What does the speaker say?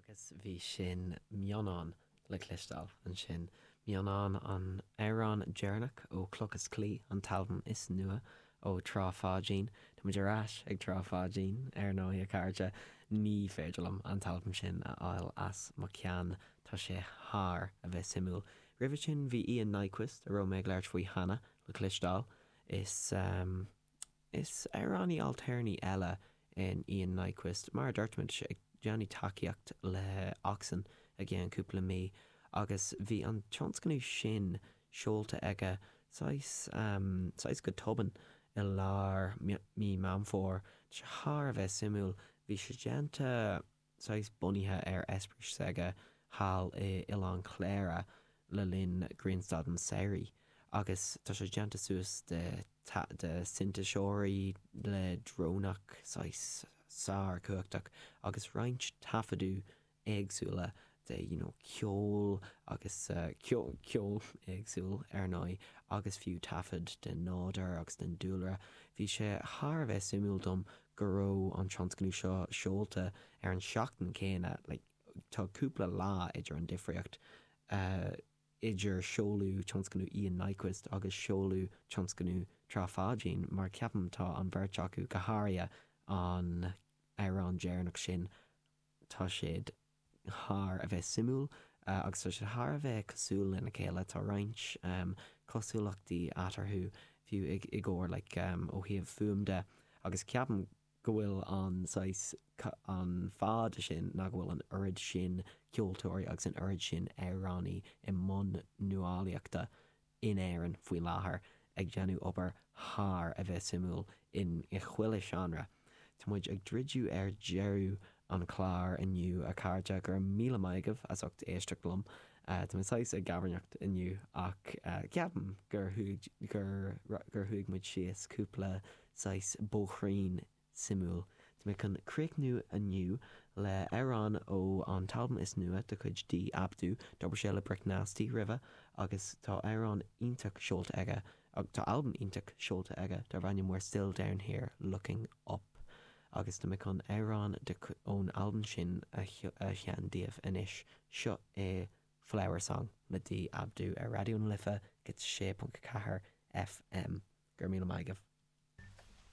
Agus bhí sin Mionán le cloisteáil ansin. Mionán, an amhrán deireanach ó Cloch is Claí, an t-albam is nua ó Trá Pháidín. Tá muid ar ais ag Trá Pháidín, ar ndóigh, a chairde. Ní féidir liom an t-albam sin a fháil as mo cheann. Tá sé thar a bheith suimiúil. Roimhe sin bhí Ian Nyquist, a raibh mé ag labhairt faoi cheana, le cloisteáil. Is. Is amhránaí ailtéarnaí eile é Ian Nyquist. Mar a dúirt mé, tá sé ag déanamh tacaíocht le Oxen i gceann cúpla mí agus bhí an tionscnamh sin seolta aige saghas, saghas go tobann i lár mí Meán Fómhair. Tá sé thar a bheith suimiúil. Bhí sé déanta. saghas bunaithe ar eispéireas s'aige thall i Oileán Chléire le linn grianstad an tsamhraidh agus tá sé déanta suas de de sintéiseoirí le drónach saghas sár-chumhachtach agus roinnt taifeadadh éagsúla de you know ceol agus ceol ceol éagsúil ar ndóigh agus fiú taifead den nádúr agus den dúlra. Bhí sé thar a bheith suimiúil dom go raibh an tionscnamh seo seolta ar an seachtain céanna, like tá cúpla lá idir an difríocht idir seoladh tionscnamh Ian Nyquist agus seoladh tionscnamh Trá Pháidín mar ceapaim tá an bheirt acu, go háirithe an amhrán deireanach sin, tá siad thar a bheith suimiúil agus tá siad thar a bheith cosúil lena chéile. Tá roinnt cosúlachtaí eatarthu, fiú i gcomhair like ó thaobh fuaim de agus ceapaim go bhfuil an saghas an fáth de sin ná go bhfuil an oiread sin ceoltóirí agus an oiread sin amhránaí i mbun nuálaíochta in Éirinn faoi láthair ag déanamh obair thar a bheith suimiúil in i chuile seánra. Tá muid ag druidiú ar deireadh an chláir inniu, a chairde. Go raibh míle maith agaibh as ucht éisteacht liom. Tá mé saghas ag gabarnacht inniu ach ceapaim gur chuaigh gur gur chuaigh muid síos cúpla saghas bóithrín suimiúil. Tá mé chun críochnú inniu le amhrán ó an t-albam is nua de chuid D Abdu. D'obair sé le Brick Nasty roimhe agus tá amhrán iontach seolta aige, tá albam iontach seolta aige darb ainm We're Still Down Here Looking Up agus tá mé chun amhrán de ón albam sin a sheinm daoibh anois. Seo é Flower Song le D Abdu ar Raidió na Life 106.4 FM. Go raibh míle maith agaibh.